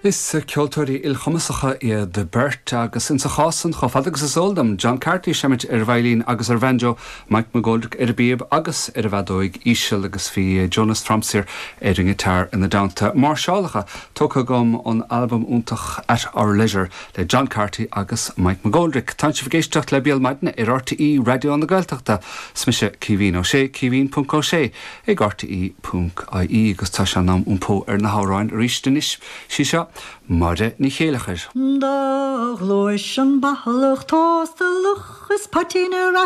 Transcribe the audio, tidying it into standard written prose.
Is ceoltóirí ilchumasacha iad beirt agus insa chás san, chomh fada agus is eol dom, John Carthy seimid ar veidhlín agus ar bhanjo, Mike McGoldrick ar an bpíob agus ar an bhfeadóig íseal agus bhí Jonas Tromsir ar an ngiotár ina dteannta. Máirseálacha tógtha agam ón albam iontach At Our Leisure le John Carthy agus Mike McGoldrick. Tánn sibh ag éisteacht le Béal Maidine ar RTÉ Raidió na Gaeltachta. 'S mise Caoimhín Ó Sé, caoimhín.ó sé ag rte.ie agus tá sé in am iompó ar na hamhráin arís anois. Sí seo Máire Ní Chéileachair. Do ghluais an bathalach tóstalach is poitín ar.